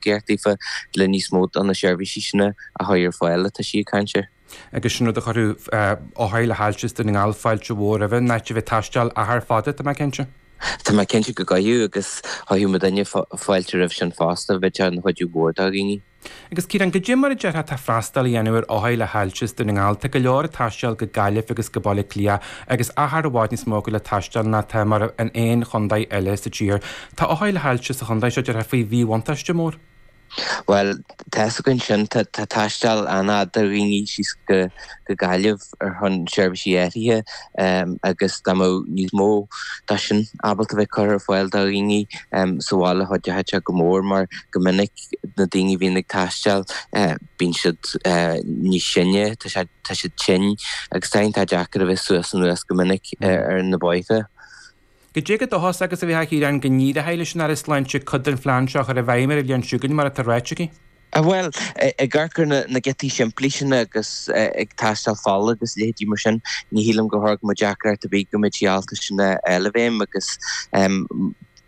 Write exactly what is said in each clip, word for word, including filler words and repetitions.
tacaíocht daofa le níos mó de na seirbhísí sin a chur ar fáil atá sí ag caint air. Agus sin rud a chuirfeadh othair le hailse i nDún na nGall fáilte mhór roimhe, in áit a bheith ag taisteal achar fada, tá mé cinnte. Tá mé cinnte go gcuirfeadh agus chuirfeadh muidinne fáilte roimh sin fosta, bheadh sé ina chuidiú mhór do dhaoine. Agus Ciarán, goidé mar a déarfá atá freastal á dhéanamh ar othair le hailse i Dún na nGall? Tá go leor ag taisteal go Gaillimh agus go Baile Átha Cliath agus achar i bhfad níos mó acu le taisteal ná atá mar in aon chontae eile sa tír. Tá othair le hailse sa chontae seo déarfá faoi mhíbhuntáiste mór. Bhuel, tá fhios againn sin, tá taisteal an-fhada do dhaoine síos go Gaillimh ar shon seirbhísí áirithe agus dá mbeadh níos mó de sin ábalta bheith curtha ar fáil do dhaoine sa bhaile chuideodh sé go mór mar go minic na daoine a bhíonn ag taisteal bíonn siad níos sine, tá siad tinn agus tá iontach deacair a bheith suas anuas go minic ar na bóithre. Goidé chomh dóchasach agus a bheifeá a Chiaráin go n-éireoidh leis an Aire Sláinte cuid den phlean seo a chur i bhfeidhm ar an bhliain seo chugainn mar atá ráite aici? Bhuel, ag amharc ar na giotaí simplí sin agus ag tástáil fola agus leithéidí mar sin, ní shílim go thabharfadh muid deacracht ar bith go mbeidh sí ábalta sin a fháil i bhfeidhm agus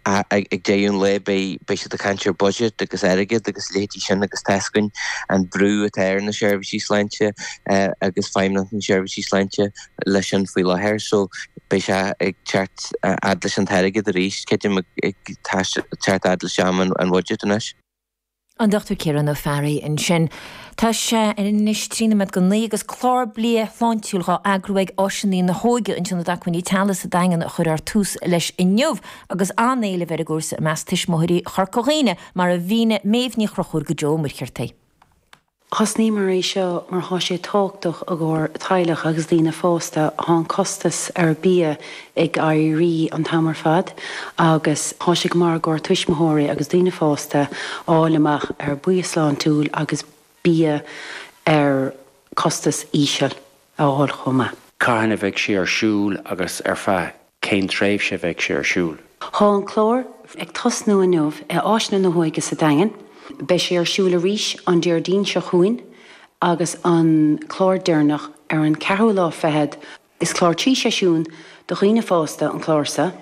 Ag deireadh an lae beidh siad ag caint ar budget agus airgead agus a leithéidí sin agus tá fhios againn an brú atá ar na seirbhísí sláinte agus Feidhmeannacht na Seirbhísí Sláinte leis sin faoi láthair so beidh sé ag teacht fhad leis an t-airgead arís, creidim ag teacht fhad leis am an bhudget anois. An Dochtúir Ciarán Ó Fearraigh ansin. Tá sé anois trí nóiméad go naoi agus clár bia shláintiúil dhá eagrú ag Áiseanna na hÓige in Ionad Acmhainní Teaghlaigh sa Daingean a chuirfear tús leis inniu agus an-éileamh ar an gcúrsa i measc tuismitheoirí Chorca Dhuibhne mar a mhínigh Méabh Ní Chonchúir go Joe Ó Muircheartaigh. Thosnaíomar é seo mar thá sé tábhachtach i gcomhair teaghlach agus daoine fásta. Thá an costas ar bia ag éirí an t-am ar fad agus thá sé go maith i gcomhair tuismitheoirí agus daoine fásta fháil amach ar bia sláintiúil agus bia ar costas íseal a fháil chomh maith. Cathain a bheidh sé ar siúl agus ar feadh cén tréimhse a bheidh sé ar siúl? Thá an clár ag tosnú inniu i Áiseanna na hÓige sa Daingean. Beidh sé ar siúl arís an Déardaoin seo chugainn agus an clár deireanach ar an ceathrú lá fichead. Is clár trí seisiún do dhaoine fásta an clár seo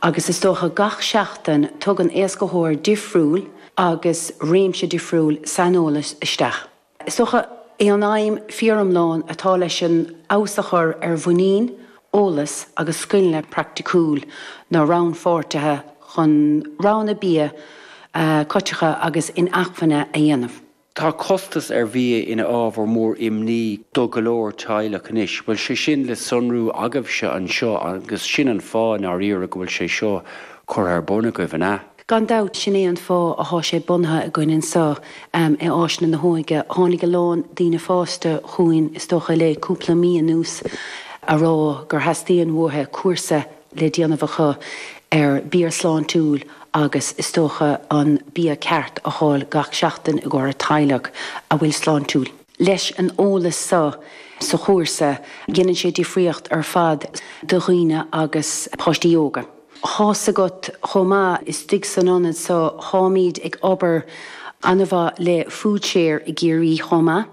agus is dócha gach seachtain tugann éascaitheoir difriúil agus réimse difriúil saineolais isteach. Is dócha é an aidhm fíoriomlán atá leis an fheabhas a chur ar mhuinín, eolas agus scileanna praiticiúil na rannpháirtithe chun roghanna bia coiteacha agus inacmhainne a dhéanamh. Tá costas ar bhia ina ábhar mór imní do go leor teaghlach anois. Bhfuil sé sin le sonrú agaibhse anseo agus sin an fáth i ndáiríre go bhfuil sé seo curtha ar bun agaibh, an ea? Gan dabht, sin é an fáth athá sé bunaithe againn anso i Áiseanna na hÓige. Tháinig a lán daoine fásta chugainn, is dócha le cúpla mí anuas, a rá gur theastaíonn uathu cúrsa le déanamh acu ar bia sláintiúil agus is dócha an bia ceart a fháil gach seachtain i gcomhair a teaghlach a bhfuil sláintiúil. Leis an eolas so sa chúrsa, dhéanann sé difríocht ar fad do dhaoine agus páistí óga. Thá's agat chomh maith, istigh san ionad so, tháimíd ag obair an-mhaith le Foodshare i gCiarraí chomh maith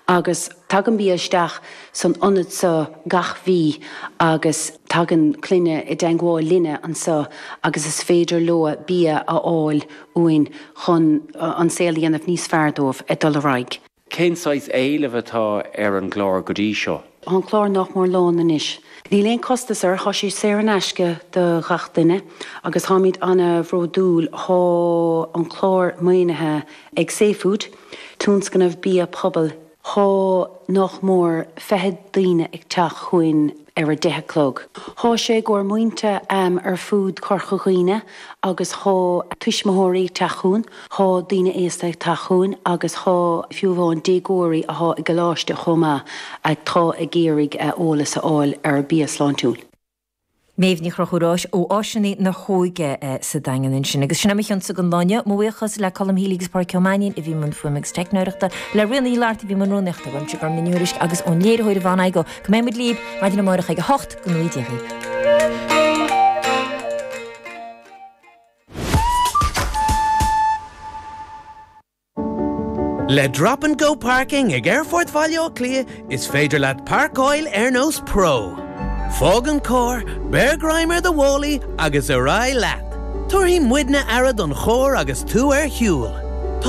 agus tagann bia isteach san ionad so gach mhí agus tagann clainne i dteangmháil linne anso agus is féidir leo bia a fháil uainn chun an saol a dhéanamh níos fearr dóibh ag dul ar aghaidh. Cén saghas éilimh atá ar an gclár go dtí seo? Tá an clár nách mór lán anois. Níl aon costas air, thá sé saor in aisce do ghach duine agus tháimíd ana bhródúil, thá an clár maoinithe ag safefood, tionscnamh bia pobail. Thá nách mór fiche daoine ag teacht chugainn ar a deich a chlog. Thá sé i gcomhair muintir ar fud Chorca Dhuibhne agus thá tuismitheoirí ag teacht chugainn, thá daoine aosta ag teacht chugainn agus thá fiú amháin déagóirí athá i gcoláiste chomh maith atá ag iarraidh eolas a fháil ar bia sláintiúil. Méabh Ní Chonchúir ó Áiseanna na hÓige sa Daingean ansin. Agus sin é mo chionsa don lá inniu. Mo bhuíochas le Colm Healy agus Pádraic Ó Mainnín a bhí i mbun fuaime agus teicneoireachta, le Ríona Ní Fhlatharta a bhí i mbun rúnaíochta, uaimse Gormfhlaith Ní Thuairisg agus ón léiritheoir Yvonne Igoe. Go mbeidh muid libh maidin amárach ag a hocht go ngnóthaí Dia dhaoibh. Le Drop and Go Parking ag Aerfort Bhaile Átha Cliath is féidir leat páirceáil ar nós pro. Fág an carr, beir greim ar do mhálaí agus ar aghaidh leat. Tabharfaidh muidne aire don charr agus tú ar shiúl.